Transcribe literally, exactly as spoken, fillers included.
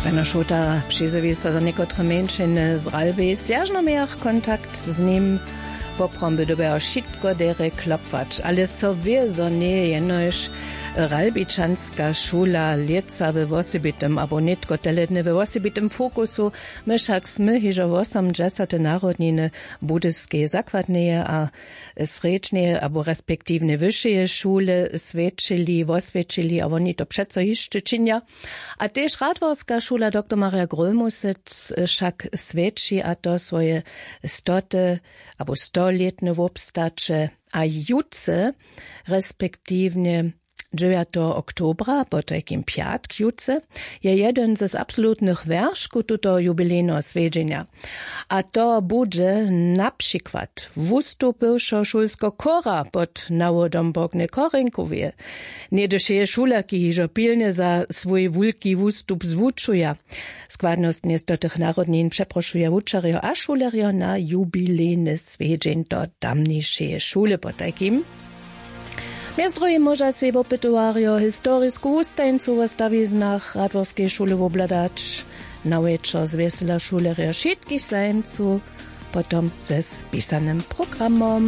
Pano šota přizjewi so za někotre mjeńšiny z ralbej w zwjažnomejach kontakt z nim. Popromby dyrbjajo wšitko derje klopwać, ale so wě zo njeje jenož ralbičanska šula lětsa we wosebitym abo nětko tele dny we wosebitym fokusu. My wšak smy hižo wosomdźesate narodniny budyskeje zakładneje a srjedźneje abo respektiwnje wyšeje šule swjećili woswjećili a woni to přeco hišće činja. A tež radworska šula doktor marja grólmusec wšak swjeći a to swoje stoty abo stolětne wobstaće. A jutře respektiwnje dźewjateho oktobra potajkim pjatk jutře je jedyn z absolutnych wjerškow tutoho jubilejneho swjedźenja. A to budźe na přikład wustup bywšeho šulskeho chóra pod nawodom bogny chórinkoweje. Něhdy wšeje šulerki hižo pilnje za swój wulki wustup zwučuja. Składnostnje z do tych narodnin přeprošuja wučerjo a šulerjo na jubilejny swjedźeń do tamnišeje šule potajkim. Mjez druhim móža sej wopytowarjo historisku wustajeńcu wo stawiznach radworskeje šule wobhladać. Na wječor zwjesela šulerjo wšitkich zajimcow potom ze spisanym programom.